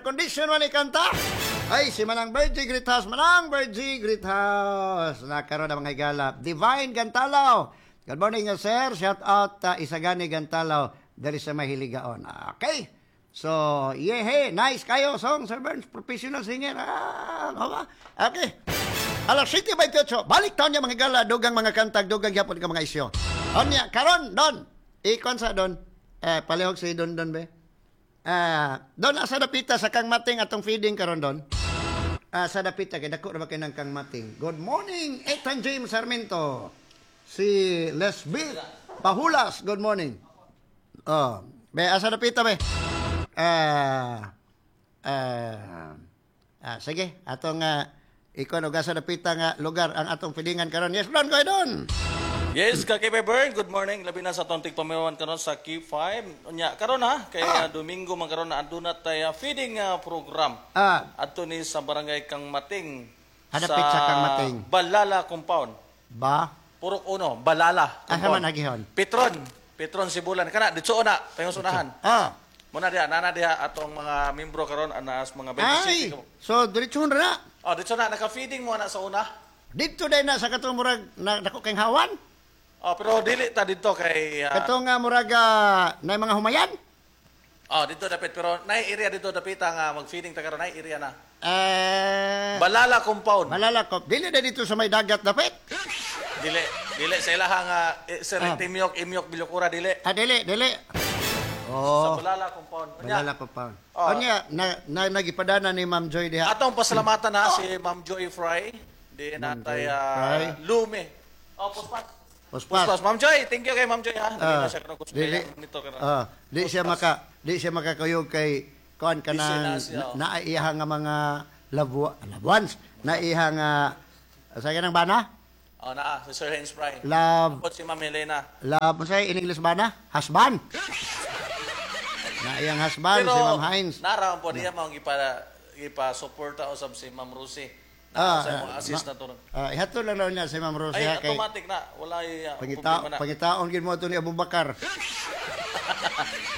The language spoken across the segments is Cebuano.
Air condition man ni kanta. Ay, si Manang Virgie Great House, Manang Virgie Great House. Nakaroon na, mga higala. Divine Gantalaw. Good morning, sir. Shout out Isagani Gantalaw diri sa Mahiligaon. Okay. So, yeah, nice kayo song, Sir Burns, professional singer. Ah, ba? Okay. Alas 7:28, balik taon niya, mga higala, dugang mga kantag, dugang gyapon ka mga isyo. Onya, karon, Don. Ikon sa Don. Eh, palihog si Don Don be. Ah, Don, asa dapita sa Kang Mating atong feeding karon, Don? Ah, sa dapita kay dako ra ba kay ng Kang Mating. Good morning, Ethan James Sarmiento. Si Lesbi Pahulas, good morning. Oh, be, asa dapita be? Ah, ah, ah, sige, atong ikon og asa dapita nga lugar ang atong feedingan karon. Yes, Don, go Don. Yes, ka Kay Bern, good morning. Labi na sa atong tigpaminawan karon sa K5. Unya, karon ha, kay Domingo man karon na aduna tay feeding program. Adto ni sa Barangay Kang Mating. Hadapit sa Kang Mating. Balala Compound. Ba? Purok Uno, Balala Asa Compound. Man agihon? Petron, Petron Sibulan kana didto na, paingon unahan. Muna diha, nana diha atong mga membro karon anas mga Ay, 27. So diretso na. Oh, didto na naka-feeding mo na sa una. Dito din na sa katong murag na dako kay hawan. Oh, pero dili ta didto kay Katong nga murag na mga humayan. Oh, dito dapit, pero nay area dito dapita nga mag-feeding ta karon, nay area na. Eh, Balala Compound. Balala ko. Dili na dito sa may dagat dapit. Dili, dili sa ilaha nga eh, Sir Timyok, Imyok, Bilokura, dili. Ah, dili, dili. Sa Oh, Balala Compound. Unya, Balala ko pa. Oh. Unya, na nagipadana ni Ma'am Joy diha. Atong pasalamatan na si Ma'am Joy Fry, di natay Joy Fry. Lume. Oh, puspas. Puspas. Puspas. Ma'am Joy, thank you kay Ma'am Joy ha. Dili Ah, na siya karon dili. nito karon. Ah, di siya makakuyog kay kuan Busy kanang na siya, oh. na iha nga mga loved ones, na iha nga sa kanang bana? Oh, naa si Sir Hens Fry. Love Tapos si Ma'am Helena. Love unsay in English bana? Husband. Na iyang husband si Ma'am Hines. Nara po diya mao gipa suporta usab si Ma'am Rosie. Ah, Sa ah, imong assist na to. Ah, ihatod lang daw niya si Ma'am Rosie Ay, ha, kay automatic na. Wala pangita problema na. pangitaon gid mo to ni Abubakar.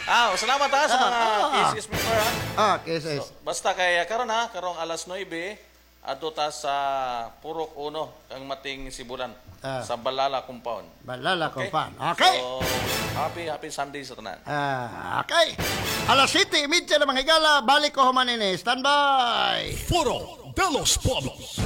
Ah, salamat ha sa mga KCS member ha. Ah, KSS. So, basta kay karon ha, karong alas 9 adto ta sa Purok Uno, Kang Mating, Sibulan sa Balala Compound. Balala Compound. Okay. So, happy happy Sunday sa tanan. Ah, okay. Alas 7:30 na, mga higala, balik ko human ini. Stand by. Foro de los Pueblos.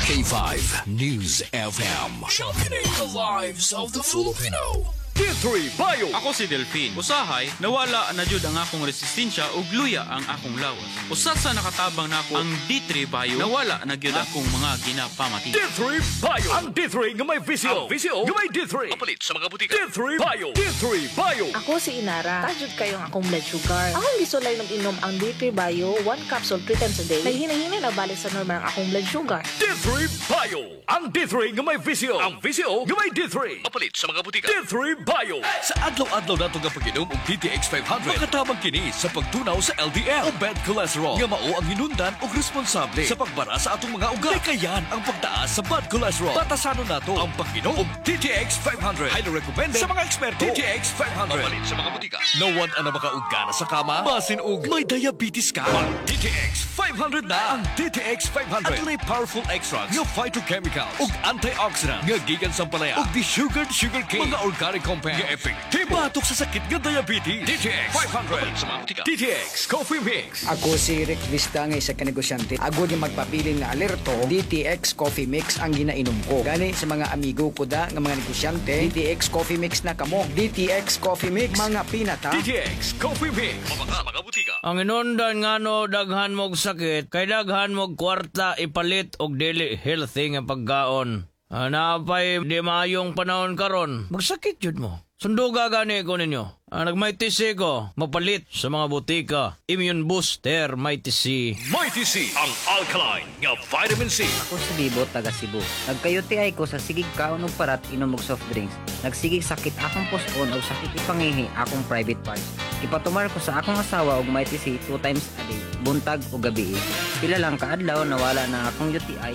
K5 News FM. Championing the lives of the Filipino. D3 Bio. Ako si Delphine. Usahay, nawala na jud ang akong resistensya ug luya ang akong lawas. Usa sa nakatabang nako ang D3 Bio, nawala na gyud akong mga ginapamati. D3 Bio. Ang D3 nga may VCO. Ang VCO nga may D3. Mapalit sa mga butika. D3 Bio. D3 Bio. Ako si Inara. Taas kayong akong blood sugar. Akong gisulay ng inom ang D3 Bio, one capsule three times a day. Naghinay-hinay na balik sa normal ang akong blood sugar. D3 Bio. Ang D3 nga may VCO. Ang VCO nga may D3. Mapalit sa mga butika. D3 Bio. Sa adlaw-adlaw nato nga pag-inom og DTX 500, makatabang kini sa pagtunaw sa LDL o bad cholesterol nga mao ang hinundan og responsable sa pagbara sa atong mga ugat. Likayan ang pagtaas sa bad cholesterol. Batasanon nato ang pag-inom og DTX 500. Highly recommended sa mga eksperto. DTX 500. Mapalit sa mga butika. Nawad na makaugana sa kama? Basin og may diabetes ka. Mag DTX 500 na. Ang DTX 500 adunay powerful extracts nga phytochemicals ug antioxidant nga gikan sa ampalaya ug desugared sugar cane, mga organic compounds nga epektibo batok sa sakit nga diabetes. DTX 500 sa mga butika. DTX Coffee Mix. Ako si Rick Vista nga isa ka negosyante. Agod yung magpabilin nga alerto, DTX Coffee Mix ang ginainom ko. Gani sa mga amigo ko da nga mga negosyante, DTX Coffee Mix na kamo. DTX Coffee Mix, mga pinata. DTX Coffee Mix. Mabaka mga butika. Ang inundan ngano daghan mog sakit kay daghan mog kwarta ipalit og dili healthy nga pagkaon. Ah, naapay di maayong panahon karon, magsakit jud mo. Sunduga gani ko ninyo. Ah, nag-Mighty C ko, mapalit sa mga butika. Immune booster, Mighty C. Mighty C, ang alkaline nga vitamin C. Ako si Bibo, taga Cebu. Nagka-UTI ko sa sigig kaon og parat, inom og soft drinks. Nagsigig sakit akong puson og sakit ipangihi akong private parts. Ipatumar ko sa akong asawa og Mighty C two times a day, buntag o gabi. Pila lang kaadlaw nawala na akong UTI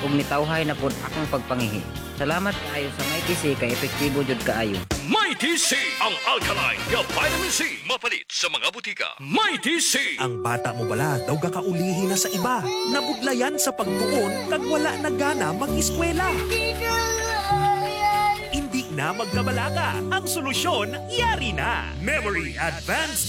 ug nitawhay na pod akong pagpangihi. Salamat kaayo sa Mighty C kay epektibo jud kaayo. Mighty C, ang alkaline nga vitamin C. Mapalit sa mga butika. Mighty C. Ang bata mo bala daw gakaulihi na sa iba. Nabudlayan sa pagtuon kag wala na gana mag-eskwela. Hindi na magkabalaka. Ang solusyon, yari na. Memory Advanced.